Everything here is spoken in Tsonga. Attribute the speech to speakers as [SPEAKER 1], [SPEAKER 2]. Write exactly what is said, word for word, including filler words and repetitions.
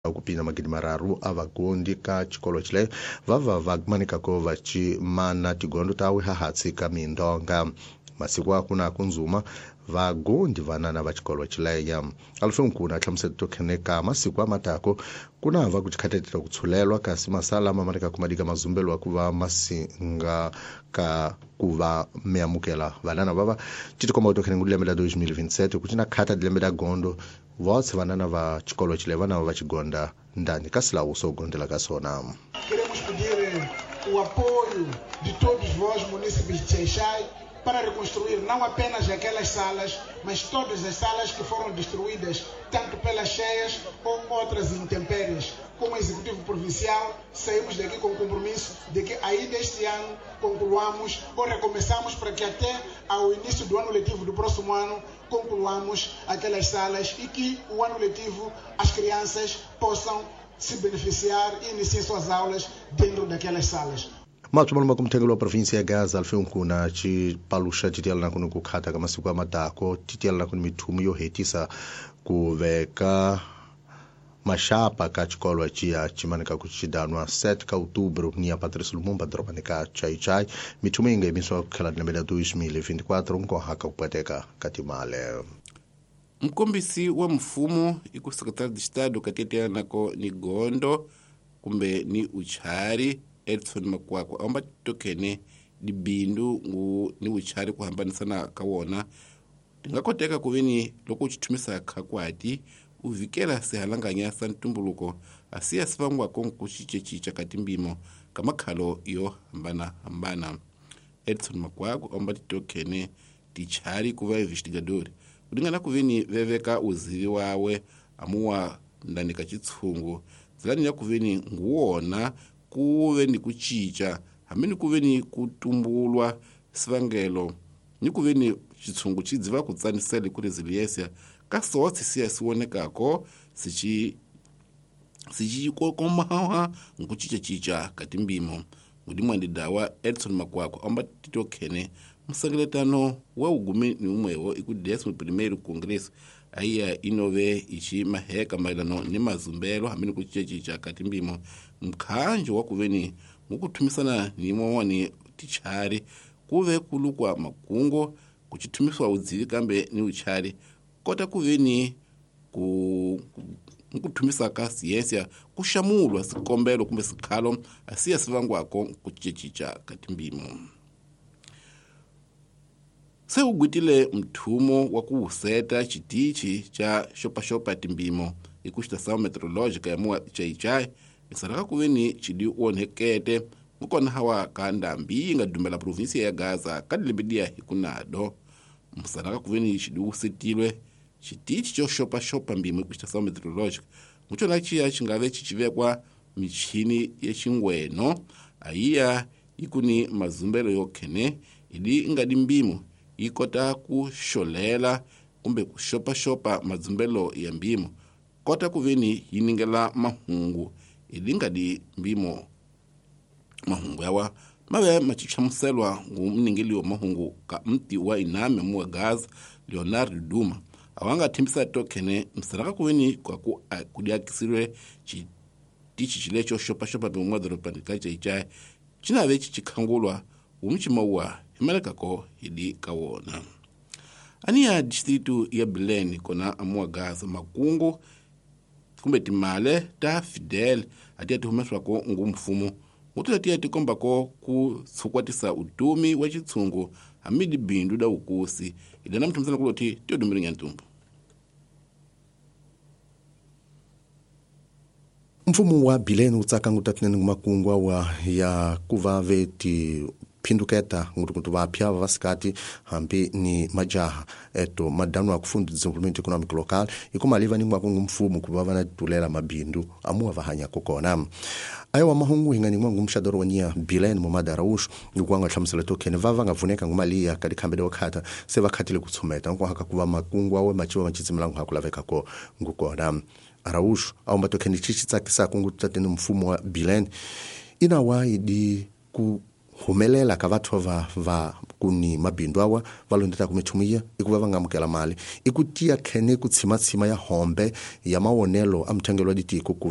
[SPEAKER 1] Kupinda magidi mararu a vagondi ka xikolo xile vava va manikako va cimana tigondo tawe hahatsi ka mindonga masiku akuna kunzuma vagondi vanana va xikolo xileya alufenkuna hlamusela to kheneka masiku amatako kuna va ku chikhatetela ku tshulelwa kasi masala ma manika kumadika mazumbelo ku va masinga ka ku va miamukela vanana vava titikomba to khenengu lembe la twenty twenty-seven ku cina khata lembe la gondo votse vanana va xikolo xile vana va xigonda ndani ka silawu so gondela ka sona.
[SPEAKER 2] Queremos pedir o apoio de todos vós, munícipes de Xai-Xai, para reconstruir não apenas aquelas salas, mas todas as salas que foram destruídas, tanto pelas cheias ou outras intempéries. Como Executivo Provincial, saímos daqui com o compromisso de que ainda este ano concluamos ou recomeçamos para que até ao início do ano letivo do próximo ano concluamos aquelas salas e que o ano letivo as crianças possam se beneficiar e iniciar suas aulas dentro daquelas salas.
[SPEAKER 1] Matsumalo makumthengelo wa provinsi ya Gaza alfenkuna chipaluxa titiyalana kuni ku khata ka masiku amatako titiyalana kuni mithumu yo hetisa ku veka maxapa ka xikolo ciya cimanika ku xidanwa sete ka outubro ni ya Patrice Lumumba dorobani ka Xai-Xai mithumu yi nga yimisiwa ku tlhela lembe la twenty twenty-four nkoha ka ku pweteka ka timale.
[SPEAKER 3] Mkombisi wa mfumo iku secretário de Estado katetianako ni gondo kumbe ni uchari Edson Makwakwa amba tokene dibindu ngu ni uchari kuhambanisana ka wona tingakoteka kuveni loko uchithumisa khakwati uvikela sihalanganya sa ntumbuluko asiya sivangwako nkuxicexica ka timbimo ka makhalo yo hambanahambana. Edson Makwakwa amba titokhene tichari kuva investigadori kulingana kuveni veveka uzivi wawe amuwa ndani ka chitshungu zilani ya kuveni nguwona kuve ni kuchicha hambi ni kuve ni kutumbulwa sivangelo ni kuve ni chitshungu chidziva kutsanisela ku resiliência ka sotsi siya siwonekako sichi sichikokomaha nkuchichachicha ka timbimo. Mudimwandi dawa Edson Makwakwa amba titokhene musengeletano wa ugumi ni umwewo iku décimo primeiro congresso aiya inove ichi maheka maelano ni mazumbelo hambi ni kuchichachicha ka timbimo mkhanjo wa kuveni mukuthumisana ni mowani tichari kuve kulukwa makungo kuchithumiswa udzivi kambe ni uchari kota kuveni ku mukuthumisa ka siyensia kuxamulwa sikombelo kumbe sikhalo asiya sivangwako kuchichachicha ka timbimo. Se ugwitile mthumo wa kuwuseta xitichi xa xopaxopa timbimo iku xitação meteorológica ya muwa Xai-Xai isalaka kuveni xidi onhekete mukona hawa ka ndambi yi nga dumela provinsia ya Gaza ka dilembe diya hi kunado musalaka kuveni xidi wusetilwe xitichi xo xopaxopa mbimo iku xitação meteorológica mucona xiya xi nga ve xi xivekwa michini ya xingweno ayiya ikuni mazumbelo yo khene idi nga di mbimo yi kota ku xolela kumbe ku xopaxopa mazumbelo ya mbimo kota kuveni yi ningela mahungu idi nga di mbimo mahungu yawa mave machichamuselwa ngu mningeli wa mahungu ka mti wa iname muwa Gaza Leonardo Duma awanga thembisa tokhene msalaka kuveni kwa ku kudiakisirwe chitichi chilecho xopaxopa bimwa dorobani ka Xai-Xai chinave chichikhangulwa umchimawa himalekako hidi kawona. Aniya distrito ya Belém kona amuwa Gaza makungu kumbe timale ta Fidel atiya tihumeswako ngu mfumo mutula tiya tikombako ku tsukwatisa utumi wa chitsungu hamidi bindu da ukusi idana mthumisana kuloti tiyodumiringa ntumbu.
[SPEAKER 1] Mfumo wa Belém utsaka ngutatinene ngumakungwa wa ya kuva veti phinduketa ngutukutu vapya vasikati hambi ni majaha eto madano akufunda desenvolvimento econômico local ikumaliva ningwa ngumfumo kuva vana tulela mabindu amuwa vahanya kokona ayo mahungu hinga ningwa ngumshadoro wanya Belém Momada Araújo ngukwanga hlamusela tokhene vava ngavuneka ngumaliya kali khambele wakhata se vakhatile kutsumeta nkwahaka kuva makungwa we machiwa machitsimelangu hakulaveka ko ngukona Araújo aumba tokhene chichi tsakisa kungutatene mfumo wa Belém inawa idi ku humelela ka vathu va va Kuni mabindu awa va londetaka mithumiya i ku va va nga amukela mali i ku tiya khene ku tshimatshima ya hombe ya mawonelo a muthangelo wa ditiko ku